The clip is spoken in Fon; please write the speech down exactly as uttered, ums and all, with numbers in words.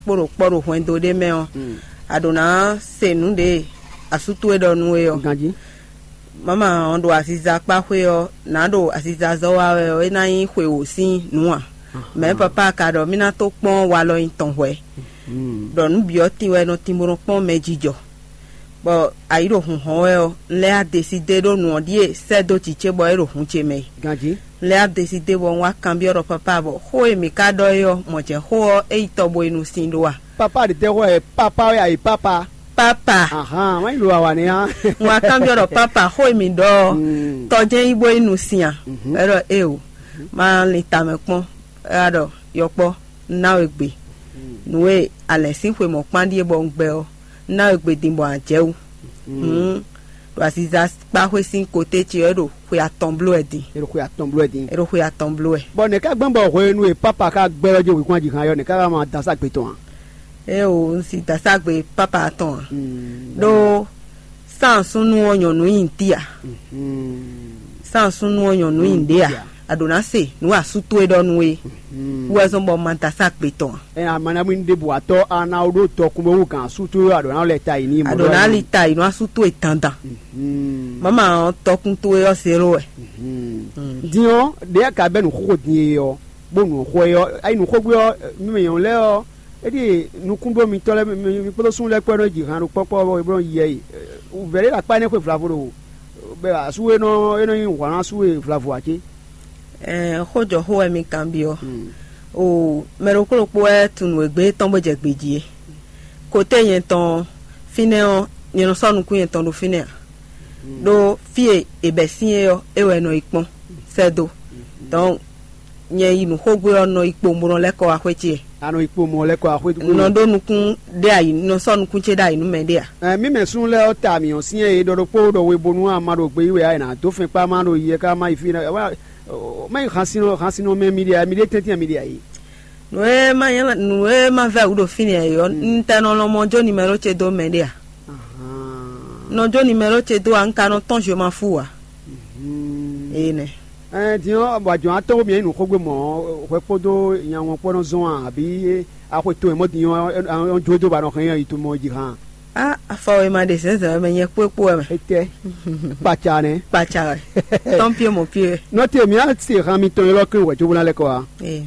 kpó ɖo kpɔ́ ɖo hwɛndo ɖé mɛ ɔ́, a ɖǒ ná se nǔ ɖě asú towe ɖɔ nú we ɔ́. Ganjí. Mama ɔ́ ɖo aziza kpá xwé ɔ́, nǎ ɖo aziza zɔ́ wá wɛ ɔ́, é ná nyí xwe wǒ sín nǔ ǎ. Mɛ̌ papa ka ɖɔ mì ná tó kpɔ́n walɔ nyi tɔn hwɛ̌, ɖɔ nǔ bǐ ɔ́ tin wɛ nɔ tin bó nɔ kpɔ́n mɛ jijɔ. Bɔ ayǐ ɖo hun hɔn wɛ ɔ́, un lɛ́ adesi dé ɖó nǔ ɔ́ ɖíe sɛ́ dó jǐ ce bɔ é ɖo hun ce mɛ. Ganjí. Un lɛ́ adesi dé bɔ un wá kanbyɔ́ ɖɔ papa bɔ xó e mǐ ka ɖɔ é ɔ́, mɔ̌ jɛ́n xó ɔ́ é yi tɔ bo yi nu sin ɖó a? Papa ɖě tɛ́ xó wɛ papa wɛ a yi papa. Papa. Ahan, wá yi ɖo awa nɛ́ á. Un wá kanbyɔ́ ɖɔ papa xó e mǐ ɖɔ ɔ́, tɔ jɛ́n yi bo yi nu sin a? Wɛ ɖɔ éeǒ, ma lin tamɛ kpɔ́n. É wá ɖɔ yɔkpɔ́, un ná we gbe. Nǔ e alɛ̌n sín xwe mɔ̌ kpán ɖíe bɔ un gbɛ ɔ́, un ná we gbe din bɔ a jɛ wú. Hǔn ɖo aziza kpá xwé sín koté ce ɔ́, é ɖo xwe atɔn bló wɛ din. É ɖo xwe atɔn bló wɛ din. É ɖo xwe atɔn bló wɛ. Bɔ nɛ̌ ká gbɛ́n bɔ hwenu e papa ka gbɛ́ ɔ́ jí wǐkún aji hán ɔ́, nɛ̌ ká wá ma dó asá gbe tɔn a? Éeǒ, un si dó asá gbe papa tɔn a? Ɖó sánsúnnu ɔ́ nyɔ̌nu nyi tí a? Sánsúnnu ɔ́ nyɔ̌nu nyi ɖě a? A ɖǒ ná se nǔ asú towe ɖɔ nú we wú wɛ zɔ́n bɔ ma dó asá gbe tɔn a? Ɛ amanamu ní ɖěbǔ atɔ́ a ná ɖó tɔkun bó wú gǎn asú towe a ɖǒ ná lɛ ta yi ní. A ɖǒ ná li ta yi nú asú towe dandan. Mama ɔ́ tɔkun towe ɔ́ zéro wɛ. Din ɔ́, ɖě a ka bɛ́ nǔ xóxó din e ɔ́, bó nǔ xó e ɔ́, ayi nǔ xógbé ɔ́, mi mɛ nyɔ̌nu lɛ́ɛ ɔ́, é ɖíe nukúnɖó mitɔ́ lɛ́ɛ mi kpódó súnnu lɛ́ɛ kpó wɛ nɔ ji han ɖo kpɔ́kpɔ́ bɔ é bló yi yɛ yi. Vɛ̌ ɖé ɖo akpá énɛ́ xwe vlavo ɖo bɔ asú e nɔ é nɔ nyí hwǎn asú e vlavo ǎ cé? Ɛɛ, xójɔxó wɛ mi kanbyɔ́. O mɛ ɖokpó ɖokpó wɛ tunwun nǔ e gbé tɔn bó jɛ gbějí é. Kote nyɛ tɔn ɔ́, fínɛ́ ɔ́, nyɛ nɔ sɔ́ nukún nyɛ tɔn ɖo fínɛ́ ǎ. Ɖó fí e è bɛ̌ sín é ɔ́, é wɛ nɔ yi kpɔ́n sɛ́ dó. Donc nyɛ yi nǔxógbé ɔ́ nɔ yi kpowun bó nɔ lɛ́ kɔ wá xwé ce. A nɔ yi kpowun bó nɔ lɛ́ kɔ wá xwé. Un nɔ ɖó nukún ɖé ayǐ, un nɔ sɔ́ nukún ce ɖó ayǐ nú mɛ ɖé ǎ. Ɛ, mí mɛ súnnu lɛ́ɛ ɔ́ ta mǐ ɔ́ syɛ́n e ɖɔ ɖokpó ɖɔ we bónú a ma ɖo gbeyíwɛ ǎ, è nǎ dó fɛn kpá má ɖo yi ɛ ká má yi fí nɛ́. Má yi xansínɔ xansínɔ mɛ mi ɖe ǎ, mi ɖe tɛ́ntin mi ɖe ǎ é. Nǔ e ma nyɛ nǔ e ma vɛ́ wǔ ɖo fínɛ́ ǎ é ɔ́, un tɛ nɔ lɔn mɔ jó nimɛ́ɖó ce dó mɛ ɖé ǎ. Nɔ jó nimɛ́ɖó ce dó ǎ, un ka nɔ tɔ́n zwe ma fú ǎ. Ee nɛ. Ɛn din ɔ́, bɔ ajɔ̌ atɔ́ mǐ nyí nǔxógbé mɔ̌, hwɛ kpódó nya wọn kpó nɔ zɔn a, abǐ axwe tɔn e mɔ̌ din ɔ́, ɔ́n jó dó ba nɔ hɛn yi to mɔ jí hán? Á, afɔ e ma ɖe zɛ̌nzɛ̌n wɛ mɛ nyɛ kpó kpó wɛ mɛ. Étɛ́? Kpaca nɛ́. Kpaca wɛ. Tɔn pie mɔ pie. Nɔte mǐ á se han mitɔn ylɔ́ kɛ́n wɛ jó bó ná lɛ́ kɔ wá. Ee.